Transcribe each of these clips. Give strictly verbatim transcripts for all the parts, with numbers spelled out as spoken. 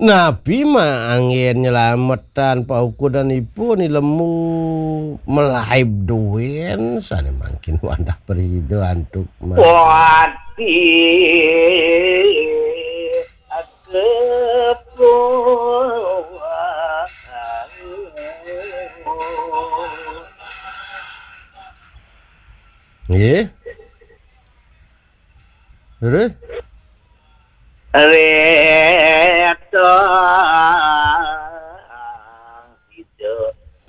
Napi mah anggén nyelametan paukudanipun, ilemu malaib duén sané mangkin wantah prasida antuk ma- Wati kepuang. Nggih. Terus? Réta sida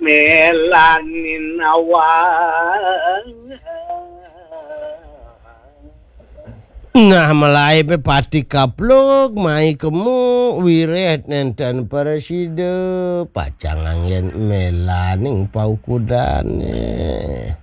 melanin awang. Nah, malaib pati kaplug, mai kemu wiréh nénten prasida, pacang anggén mélaning paukudané.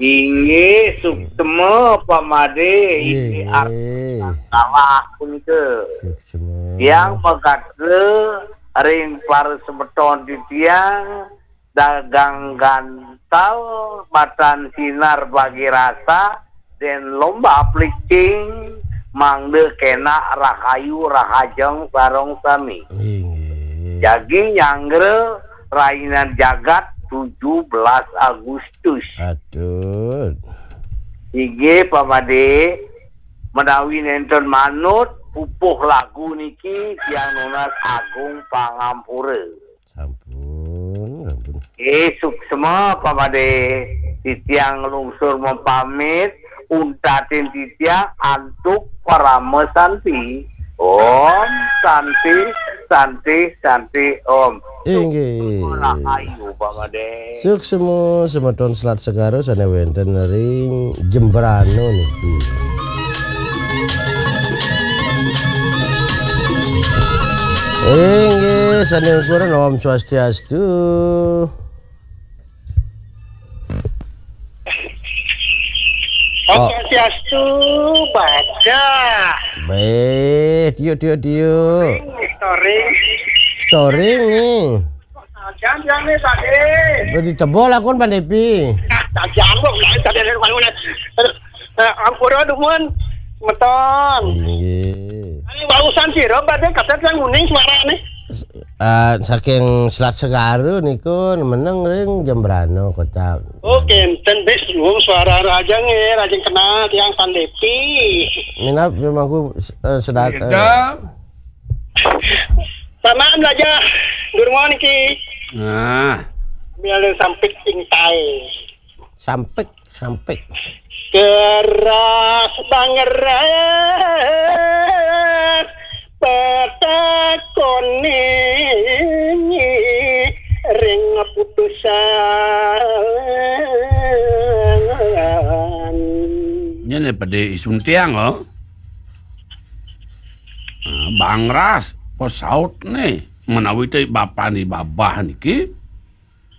Inggih, suksma pamadé, inggih, inggih, arti salah punika. Suksma. Tiang magatra ring para semeton titiang dagang gantal matan sinar bagi rasa, den lomba plicing, mangda kenak rahayu rahajeng sareng sami. Inggih. Jagi nyanggra rainan jagat tujuh belas Agustus. Aduh. Inggih, pamadé, menawi nénten manut pupuh lagu niki, tiang nunas agung pangampura. Sampun, sampun. Eh, suksma, pamadé. Titiang nglungsur mapamit, untatin titiang antuk parama santi. Om Santi, Santi, Santi, Om. Inggih. Rahayu, pamadé. Suksma semeton Selat Segara sané wénten ring Jembrana niki. Inggih, sané kuring Om Swastiastu. Om, oh. Swastiastu, baca. Béh, tiuk, tiuk, tiuk. Storing. Storing nih. Jangan, jangan nih, Pak. Udah ditebol akun Pak Depi. Jangan, jangan, jangan. Eh, ampura dumun, semeton. Inggih. Ini barusan sira badhe kaset yang uning suarane. Ah, saking Selat Segara niku meneng ring Jembrana kota. Oh, kenten bis nuwun suara raja nggih, raja kenal tiang Sandepi. Minab mangku, eh, sedat, eh. Beda. Samaan raja durma niki. Nah. Biar sampik intai. Sampik. Sampik. Keras bangeres petakone ring putusan. Nyene pede isun tiang, oh. Ah, bangras, pesaut nih, menawi te bapan di babah niki.